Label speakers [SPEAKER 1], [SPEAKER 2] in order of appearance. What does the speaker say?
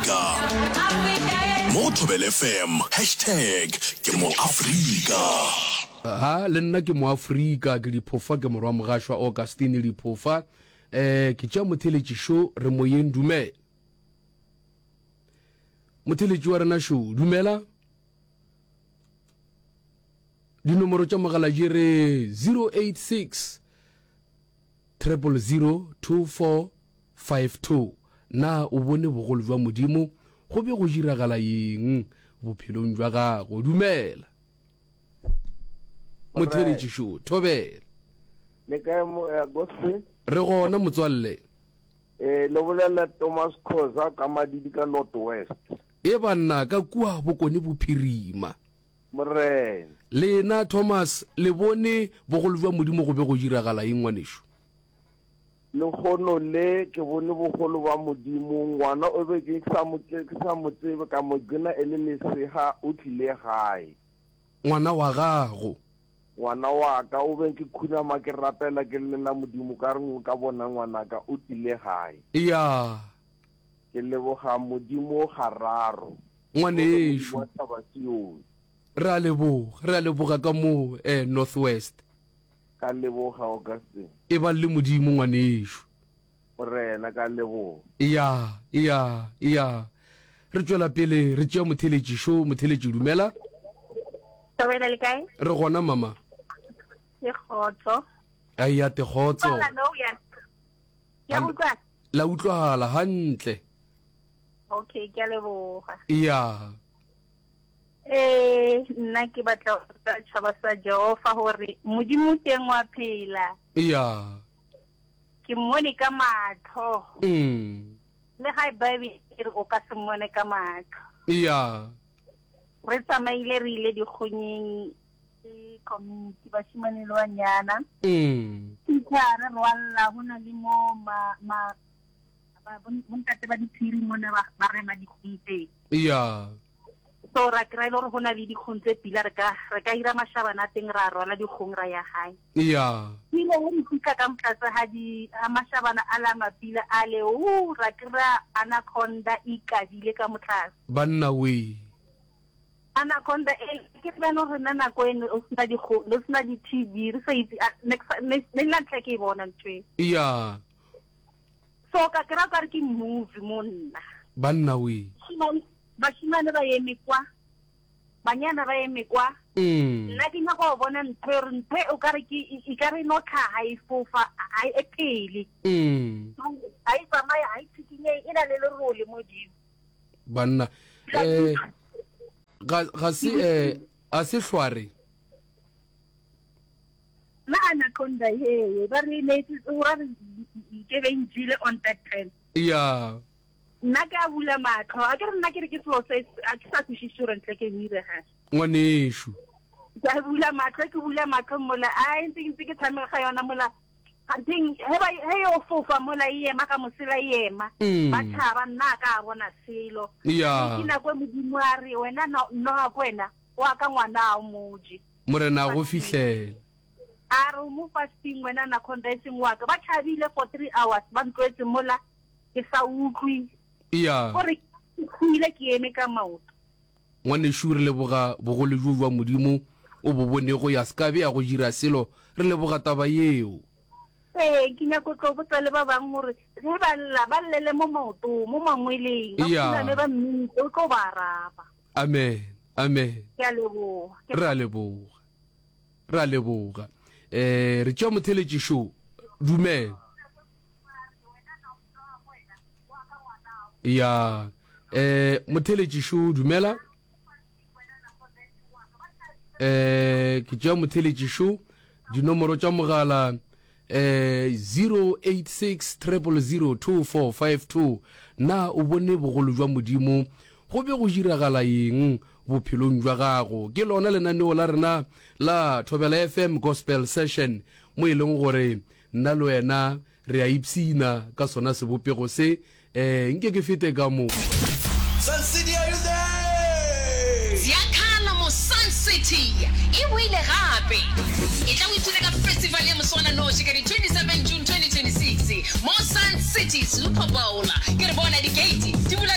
[SPEAKER 1] Moafrika. Mo go Thobela FM, hashtag ke Moafrika.
[SPEAKER 2] Ha, le nna ke Moafrika, ke Diphofa, ke morwa Mogašwa Augustine Diphofa. Eh, ke tšea motheletši šo, re moyeng, dumela. Motheletši wa rena šo, dumela. Dinomoro tša mogala di re 086 000 2452. Na o bone bogolo bja Modimo? Go be go diragala eng bophelong bja gago? Dumela. Motheletši šo, thobela.
[SPEAKER 3] Le kae mo eh, gospel?
[SPEAKER 2] Re gona motswalle.
[SPEAKER 3] Eh, le bolela Thomas Khoza ka Madidi ka North West.
[SPEAKER 2] E banna ka kua Bokone Bophirima.
[SPEAKER 3] Morena.
[SPEAKER 2] Lena, Thomas, le bone bogolo bja Modimo go be go diragala eng, ngwanešu?
[SPEAKER 3] Lehono le ke bone bogolo bja Modimo. Ngwana o be ke sa mo, ke sa mo tsebe, ka mo gcina e le lesega, o tlile gae.
[SPEAKER 2] Ngwana wa gago.
[SPEAKER 3] Ngwana wa ka, o be ke khunama ke rapela ke llela Modimo ka re ka bona ngwanaka o tlile gae.
[SPEAKER 2] Ya.
[SPEAKER 3] Ke leboga Modimo gararo.
[SPEAKER 2] Ngwanešu. Re a leboga, re a leboga ka mo eh, North West.
[SPEAKER 3] Ka leboga, Augustine.
[SPEAKER 2] E bang le Modimo, ngwanešu.
[SPEAKER 3] Morena, ka leboga.
[SPEAKER 2] Ya, ya, ya. Re tšwela pele re tšea motheletši šo, motheletši dumela.
[SPEAKER 4] Thobela le kae?
[SPEAKER 2] Re gona mama.
[SPEAKER 4] Ke kgotso.
[SPEAKER 2] Ai ya te kgotso.
[SPEAKER 4] Ya utlwa.
[SPEAKER 2] La utlwagala hantle.
[SPEAKER 4] Okay, ke a leboga.
[SPEAKER 2] Ya.
[SPEAKER 4] Eh, nna ke batla go botsa tšhaba sa Jehova gore Modimo teng wa phela.
[SPEAKER 2] Ya.
[SPEAKER 4] Ke mmone ka matlho.
[SPEAKER 2] Mm.
[SPEAKER 4] Le ga Bible e re o ka se mmone ka matlho.
[SPEAKER 2] Ya.
[SPEAKER 4] Re tsamaile re ile dikgonyeng le community bashimane le banyana.
[SPEAKER 2] Mm.
[SPEAKER 4] Fitlha re rwalla go na le mo ma ma bontate ba diphiri mona ba rema dikgong teng.
[SPEAKER 2] Ya.
[SPEAKER 4] So ra kry-a e le gore go na le dikgong tse pila re ka re ka ira mashabana a teng ra rwala dikgong ra ya gae.
[SPEAKER 2] Ya.
[SPEAKER 4] Ile ge re fitlha ka motlatse ga di ga mashabana a la mapila a le o ra kry-a anaconda e ikadile ka motlase.
[SPEAKER 2] Banna wee.
[SPEAKER 4] Anaconda e ke bjalo rena nako eno o sena dikgo le sena di-tv re sa itse ne ne la ntlha ke e bona ntho e.
[SPEAKER 2] Ya.
[SPEAKER 4] So ka kry-a kare ke movie mo nna.
[SPEAKER 2] Banna wee.
[SPEAKER 4] Bašemane ba eme kwa, banyana ba eme kwa.
[SPEAKER 2] Mm.
[SPEAKER 4] Nna ke nyaka go bona ntho e re ntho e o kare ke e ka re no tlhaga e fofa ga e phele.
[SPEAKER 2] Mm.
[SPEAKER 4] Ga e tsamaye ga e tshikinye e na le lerole modimo.
[SPEAKER 2] Banna eh ga ga se eh a se hlware.
[SPEAKER 4] La anaconda ye ba re ne o ra re ke be njile on that time.
[SPEAKER 2] Yeah.
[SPEAKER 4] Nna ke a bula matlho, a ke re nna ke re ke selo se a ke sa kwešiše gore ntle ke direga.
[SPEAKER 2] Ngwanešu.
[SPEAKER 4] Ke a bula matlho, ke bula matlho mola, a ntse ntse ke tshameka ga yona mola. Ganting he ba he yo fofa mola e ema ka mosela e ema.
[SPEAKER 2] Mm.
[SPEAKER 4] Ba tšhaba nna a ka a bona selo.
[SPEAKER 2] Ya.
[SPEAKER 4] Ke nako e Modimo a re wena no noga ko wena o a ka ngwana a o moje.
[SPEAKER 2] Morena a go fihlela.
[SPEAKER 4] A re o mo fasting wena anaconda e seng wa ka. Ba tšhabile for 3 hours ba ntlwetse mola. Ke sa utlwe.
[SPEAKER 2] Eya.
[SPEAKER 4] Gore ke hwile ke eme ka maoto.
[SPEAKER 2] Ngwanešu, re leboga bogolo bjo bja Modimo o bo bonego, ya se ka be ya go dira selo. Re leboga taba yeo.
[SPEAKER 4] Ee, ke nyako tlo botsa le ba bang gore ge ba lla, ba llele mo maotong, mo mangweleng, ba
[SPEAKER 2] Eya.
[SPEAKER 4] khuname ba mmitse, o tlo ba araba.
[SPEAKER 2] Amen. Amen.
[SPEAKER 4] Ke a leboga. Ke
[SPEAKER 2] Re a leboga. Re a leboga. Eh, re tšea motheletši šo. Dumela. Ya eh motheletši šo dumela. Eh ke tšea motheletši šo dinomoro tša mogala eh 086 000 2452 na o bone bogolo jwa Modimo go be go diragala eng bophelong jwa gago ke lona lenaneo la rena la Thobela FM Gospel Session mo e leng gore Nna le wena re a ipshina ka sona sebopego se. Ee, nke ke fete ka mo.
[SPEAKER 5] Sun City are you there?
[SPEAKER 6] Ziakhala mo Sun City e boile gape! Etla o ipshine ka festival ya moswananoši ka di 27 June 2026 mo Sun City Super Bowl. Ke re bona di-gate di bula ka.